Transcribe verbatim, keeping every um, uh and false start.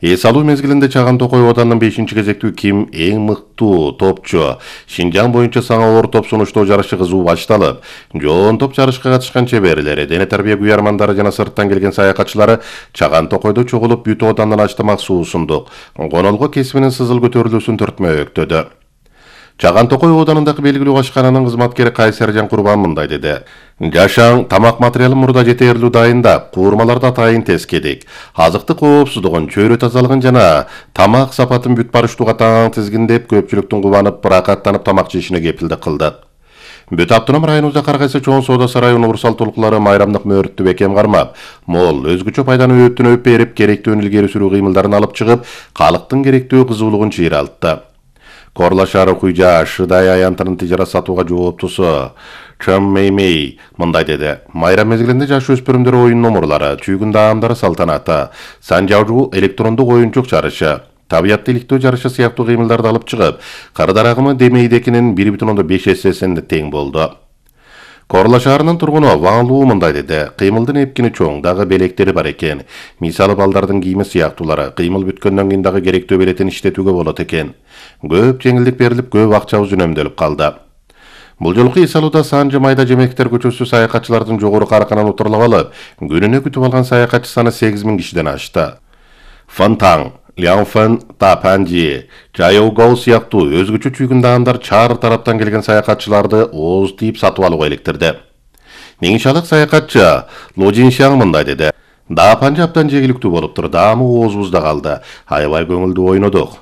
Эс алуу мезгилинде Чаган Токой Оодандын бешинчи кезектүү ким эң мыктуу топчу Шинжаң боюнча саңа оор топ сунуштоо жарышы кызуу башталып, жоон топ жарышка катышкан чеберлери, дене тарбия куярмандары жана сырттан келген саякатчылары Чаган Токойдо чогулуп Бүт Оодандын ачтамак суусундук Конолго кесибинин сызыл көтөрүлүүсүн төртмөктөдү. Чаган Токой Оодандагы белгилүү ашкананын кызматкери Кайсаржан Курбан мындай деди. Жашаң тамак материалын мурда жетерлүү дайындап, куурмаларды атайын тескедик. Азыктык коопсуздугун, чөйрө тазалыгын жана тамак сапатын бүт барыштууга таң тизгиндеп, көпчүлүктүн кубанып, ырахаттанып тамак жешине кепилдик кылдык. Бүт автоном районубузда кар кайсы чоң соода сарайынын урсал толуклары майрамдык мөөрттү бекем кармап, мол өзгөчө пайданы өптүнөп берип, керектүүнү илгери сүрүү кыймылдарын алып чыгып, калктын керектүү кызуулугун чыйралтты. Корла шаары Куйжа Шыдай аянтынын тижара сатууга жооптусу Чым Меймей мындай деди. Майрам мезгилинде жаш өспүрүмдөр оюн номурлары, чүйгүн даамдары салтанаты, санжаруу электрондук оюнчук жарышы, табиятты иликтөө жарышы сыяктуу кыймылдарды алып чыгып, кар дарагымы Демейдекинин бир бүтүн ондон беш эссесинде тең болду. Корла шаарынын тургуну Ван Луу мындай деди. Кыймылдын эпкини чоң, дагы белектери бар экен. Мисалы балдардын кийими сыяктуулары, кыймыл бүткөндөн кийин дагы керектүү белетин иштетүүгө болот экен. Көп жеңилдик берилип, көп акчабыз үнөмдөлүп калды. Бул жолку эс алууда Санжы Майда Жемектер көчөсү саякатчылардын жогору карканын утурлап алып, күнүнө күтүп алган саякатчы саны сегиз миң кишиден ашты. Фантаң, Лянфэн, Тапанжи, Жайоугоу сыяктуу өзгөчө чүйгүн даамдар чаар тараптан келген саякатчыларды ооз тийип сатып алууга иликтирди. Неңишалык саякатчы Ло Жиншаң мындай деди. Дапанжы абдан жегиликтүү болуптур, даамы оозубузда калды. Аябай көңүлдүү ойнодук.